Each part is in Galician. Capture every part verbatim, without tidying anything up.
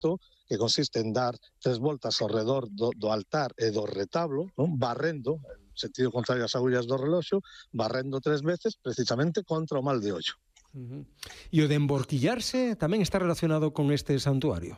rito que consiste en dar tres voltas ao redor do, do altar e do retablo, non? Barrendo, en sentido contrario ás agullas do reloxo, barrendo tres veces precisamente contra o mal de ollo. Uh-huh. E o de emborquillarse tamén está relacionado con este santuario?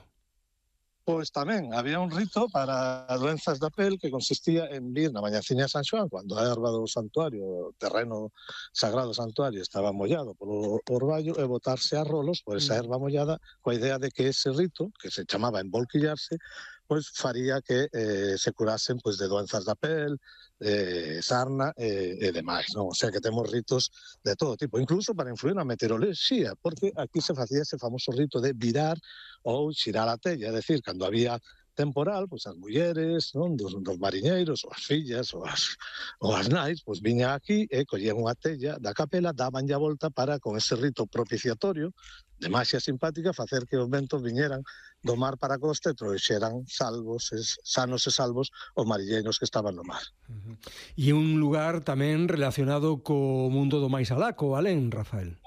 Pois tamén, había un rito para doenzas da pel que consistía en vir na mañaciña de San Xoán, cando a erva do santuario, o terreno sagrado do santuario estaba mollado polo orballo, e botarse a rolos por esa erva mollada, coa idea de que ese rito, que se chamaba embolquillarse, pois faría que eh, se curasen pois, de doenzas da pel, de sarna e, e demais, non? O sea que temos ritos de todo tipo, incluso para influir na meteoroloxía, porque aquí se facía ese famoso rito de virar ou xirar a tella, é dicir, cando había temporal, pois as mulleres, non, dos, dos mariñeiros, ou as fillas, ou as, ou as nais, pois viña aquí e collían unha tella da capela, daban a volta para, con ese rito propiciatorio, de maxia simpática, facer que os ventos viñeran do mar para a costa e trouxeran salvos, es, sanos e salvos os mariñeiros que estaban no mar. Uh-huh. E un lugar tamén relacionado co mundo do máis alá, co alén, Rafael.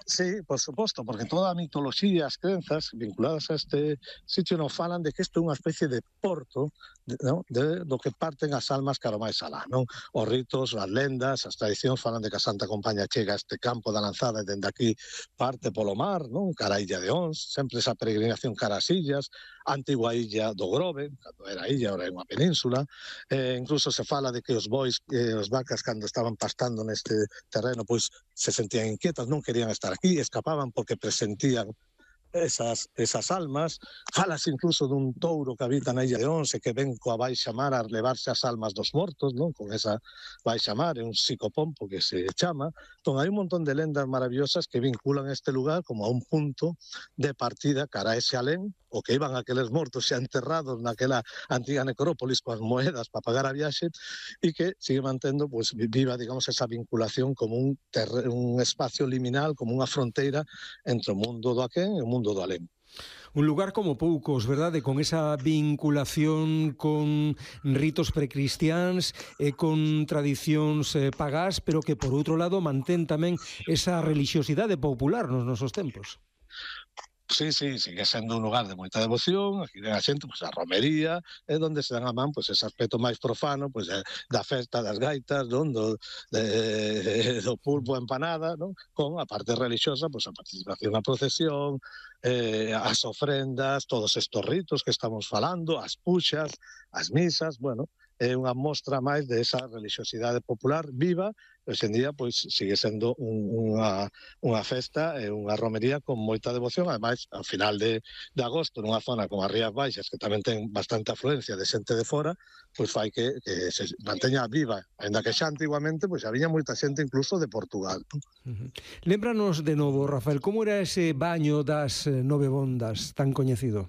Sí, por suposto, porque toda a mitoloxía e as crenzas vinculadas a este sitio nos falan de que isto é unha especie de porto, de, ¿no? de, do que parten as almas cara máis alá, non? Os ritos, as lendas, as tradicións falan de que a Santa Compaña chega a este campo da lanzada e dende aquí parte polo mar, non? Cara a Illa de Ons, sempre esa peregrinación cara ás illas, a antigua illa do Grove, cando era illa, ora é unha península, eh, incluso se fala de que os bois e eh, os vacas cando estaban pastando neste terreno, pois se sentían inquietas, non querían estar aquí, escapaban porque presentían esas, esas almas. Falas incluso dun touro que habita na Illa de Once que ven coa baixa mar a levarse as almas dos mortos, non? Con esa baixa mar, é un psicopompo que se chama. Entón, hai un montón de lendas maravillosas que vinculan este lugar como a un punto de partida cara a ese alén, o que iban aqueles mortos xa enterrados naquela antiga necrópolis coas moedas para pagar a viaxe, e que sigue mantendo pues, viva, digamos, esa vinculación como un, terre, un espacio liminal, como unha fronteira entre o mundo do aquén e o mundo do alén. Un lugar como poucos, verdade? Con esa vinculación con ritos precristiáns e con tradicións eh, pagás, pero que, por outro lado, mantén tamén esa relixiosidade popular nos nosos tempos. Sí, sí, sigue sendo un lugar de moita devoción, aquí ven a xente, pois, a romería, é onde se dan a man, pois, ese aspecto máis profano, pois, da festa das gaitas, non? Do, de, do pulpo empanada, non? Con a parte religiosa, pois, a participación na procesión, eh, as ofrendas, todos estos ritos que estamos falando, as puxas, as misas, bueno, é unha mostra máis de esa religiosidade popular viva. Hoxe en día, pois, sigue sendo un, unha, unha festa e unha romería con moita devoción. Ademais, ao final de, de agosto, nunha zona como as Rías Baixas, que tamén ten bastante afluencia de xente de fora, pois fai que, que se manteña viva, ainda que xa antiguamente pois había moita xente incluso de Portugal. Uh-huh. Lémbranos de novo, Rafael, como era ese baño das nove bondas tan coñecido?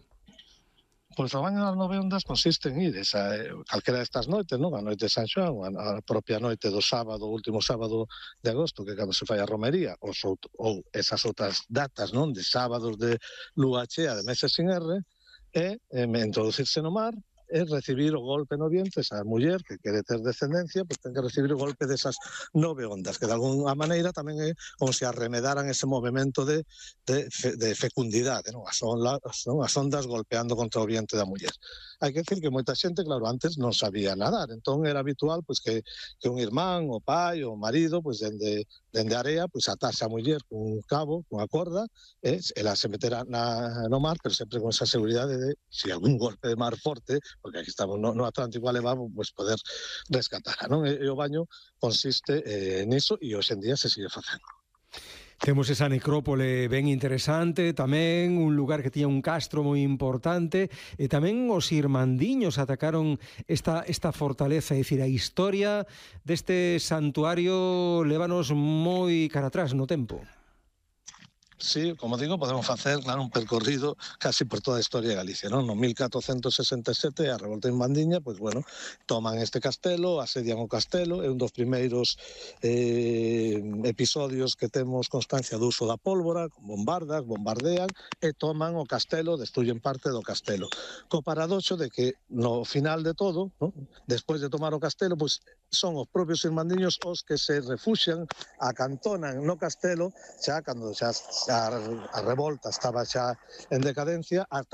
Pois o baño das nove ondas consiste en ir esa, calquera destas noites, non? A noite de San Xoán, a propia noite do sábado, o último sábado de agosto, que cando se fai a romería, ou, ou esas outras datas, non? De sábados de lúa chea, de meses sin R, e eh, introducirse no mar, é recibir o golpe no vientre, esa muller que quere ter descendencia, pois ten que recibir o golpe desas nove ondas, que de alguna maneira tamén é como se arremedaran ese movimento de, de, de fecundidade, non? As, ondas, non? As ondas golpeando contra o vientre da muller. Hai que decir que moita xente, claro, antes non sabía nadar, entón era habitual pois, que, que un irmán, o pai, o marido, pois dende, dende a area, pois atase a muller con un cabo, con a corda, e ela se metera na, no mar, pero sempre con esa seguridade de, se algún golpe de mar forte, porque aquí estamos no, no Atlántico elevado, pues poder rescatar, non? E, e o baño consiste eh, niso e hoxe en día se sigue facendo. Temos esa necrópole ben interesante, tamén un lugar que tiña un castro moi importante, e tamén os irmandiños atacaron esta, esta fortaleza, é dicir, a historia deste santuario lévanos moi cara atrás no tempo. Sí, como digo, podemos facer, claro, un percorrido casi por toda a historia de Galicia, non? No mil catrocentos sesenta e sete, a revolta en Mandiña, pois, bueno, toman este castelo, asedian o castelo, é un dos primeiros eh, episodios que temos constancia do uso da pólvora, con bombardas, bombardean, e toman o castelo, destruyen parte do castelo. Co paradoxo de que, no final de todo, ¿no? Despois de tomar o castelo, pois, son os propios irmandiños os que se refuxian, acantonan no castelo, xa cando xa, xa a revolta estaba xa en decadencia, ata